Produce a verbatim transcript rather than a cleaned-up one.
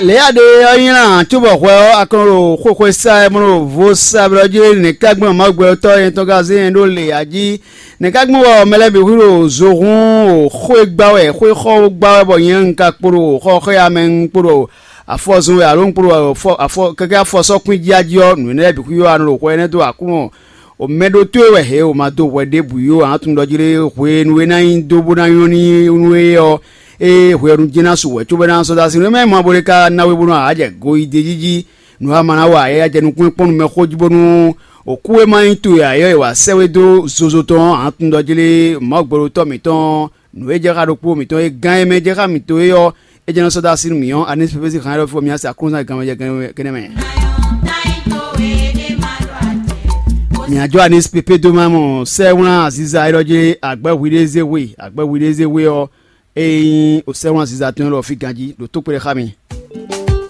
Lě a ɖe ɔ́ nylá cóbɔ hwɛ ɔ́, a kɔn ɖo xwexwe sa wɛ, bó ɖo vo sa blɔ́ jí. Nɛ̌ ka gbɔn Mawu gbɛtɔ́ nyɛ tɔn ka zé nyɛ ɖó lě a jí? Nɛ̌ ka gbɔn bɔ mɛ lɛ́ɛ bǐ hu ɖo zo hun o xwé gbá wɛ, xwé xɔ gbá wɛ, bɔ nyɛ un ka kpo ɖo xɔxɔ́ya mɛ, un kpo ɖo afɔ zɔn wɛ, alo un kpo ɖo afɔ, afɔ kɛkɛ afɔ sɔ́ kwín jí a jí ɔ́, nǔ énɛ́ lɛ́ɛ bǐ hu ɔ́, a nɔ ɖo hwɛ énɛ́ dó Aklúnɔ. O mɛ ɖó towe wɛ hě o ma dó hwɛ ɖěbǔ yó, a nǎ tunwun ɖɔ jí lé hwenu e ná nyí dó bó ná nyɔ́ n'i nú é ɔ́, ée hwenu jɛ́n ná su wɛ, cóbɔ é ná sɔ́ dó así nú é mɛ mɔ bó lé ka ná we bónú a jɛ goyídéjí jí. Nǔ e a ma ná wa é, a jɛ nukún kpɔ́n nú mɛ xó jí bónú òkú e ma nyí towe ǎ é wa sɛ́ we dó zozo tɔn ɔ́, a nǎ tunwun ɖɔ jí lé Mawu gbɛɖotɔ́ mǐtɔn nǔ e jɛ xá ɖokpó mǐtɔn e gán e mɛ jɛ xá mǐtɔn é ɔ́, é jɛ́n nɔ sɔ́ dó así nú mǐ ɔ́, anísí pépé sín han élɔ́ fí bɔ mǐ asi aklúnɔzán gǎnmɛ jɛ gɛnɛ mɛ. Mǐ á jó anísí pépé dó má mɔ sɛ́wlán aziza élɔ́ jí, agbɛ́ hwiɖézéhwe, agbɛ́ hwiɖézéhwe ɔ́, é nyí o sɛ́wlán aziza tɔn élɔ́ fí ganjí ɖo tó kpé ɖé xá mi.